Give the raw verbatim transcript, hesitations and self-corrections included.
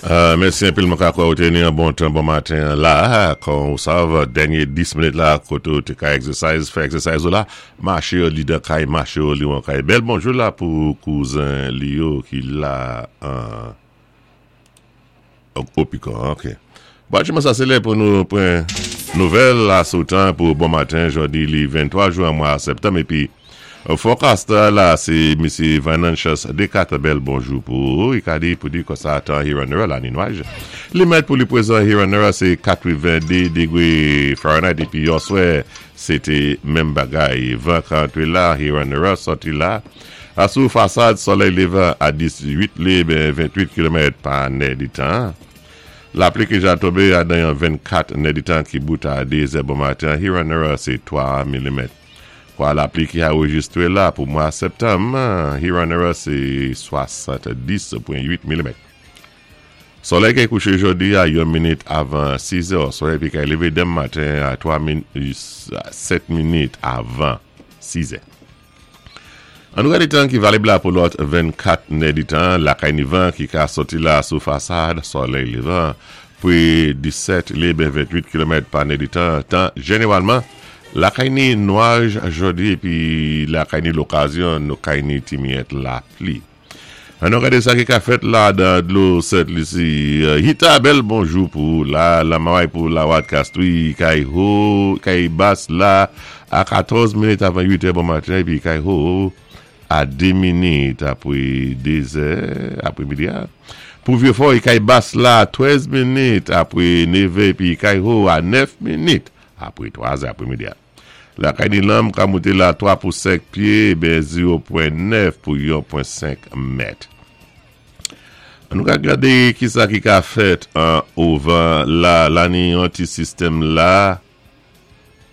Euh, mèsi anpil mwen ka kwè ou té ni an bon tan bon maten la, kon ou sav, dènyé dis minit la, koté ou té ka exercise, fè exercise ou la, maché ou li dan kay, maché ou li wan kay. Bèl bonjou la pou kouzen Lio ki la an Opikon, ok. Bon, jèman sa sé lè pou nou pran nouvèl la sou tan pou bon maten, jòdi li venntwa jwen mwa septanm, épi forecast la, sé Misye Venantius Decat, bèl bonjou pou ou, i ka di pou di kon sa tan Huron la ni nwaj. Li mèt pou li pwézan Huron sé katwenndé dégwé Fahrenheit, épi yèswè, sé té menm bagay. Van ka antré la, Huron sòti la, a sou fasad solèy lévan a dizuit lé, ben venntwit kilomèt pa nè di tan. Lapli ki ja tonbé a dan yon vennkat nè di tan ki bout a dé zè bon maten, Huron sé twa milimèt. Kwa lapli ki anrejistwé la pou mwa septanm, Huron sé swasanndis pwen uit milimèt. Solèy ki kouché jòdi a yon minit avan sis è, solèy pi kay lévé denmen maten a twa min, sèt minit avan sis è. An nou gadé tan ki valib la pou lòt vennkat nè di tan, lakay ni van ki ka sòti la sou fasad, solèy lévan, pwi disèt lé ben venntwit kilomèt pa nè di tan, tan jénéwalman, lakay ni nwaj jòdi épi lakay ni lokazyon nou kay ni ti miyèt lapli. An nou gadé sa ki ka fèt la dan dlo Sent Lisi. Hita, bèl bonjou pou la, la maway pou la wat kastwi, kay ho, kay bas la a katòz minit avan uit è bon maten, épi kay ho a dé minit apwé dé zè apwé midi a. Pou Vieux-Fort, kay bas la trèz minit apwé nèv è, épi kay ho a nèf minit apwé twa zè apwé midi a. Lakay ni lanm ka mouté la twa pou senk pyé, ben zewo pwen nèf pou yon pwen senk mèt. An nou ka gadé ki sa ki ka fèt an ovan la, la ni yon ti sistèm la.